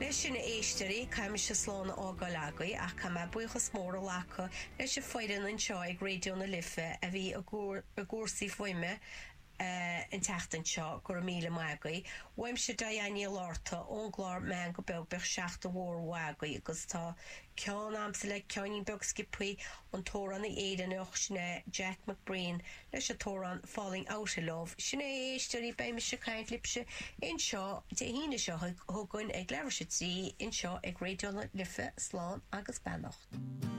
Leis sin, a éisteoirí, caithfidh mise slán a fhágáil agaibh ach caithfidh mé buíochas mór a ghlacadh leis an foireann anseo ag Raidió na Life a bhí i gcúrsaí fuaime an tseachtain seo, go raibh míle maith agaibh. Uaimse Diane Ní Fhlatharta ón gclár Meangadh Beag bíodh seachtain mhór mhaith agaibh agus tá ceann a'msa le ceoinín beag sciobthaí, an t-amhránaí Éireannach sin é Jack McBrien leis an t-amhrán Falling Out of Love. Sin é a éisteoirí, beidh mise ag caint libhse anseo Dé hAoine seo chugainn ag leathuair tar éis a 3 anseo ag Raidió na Life. Slán agus beannacht.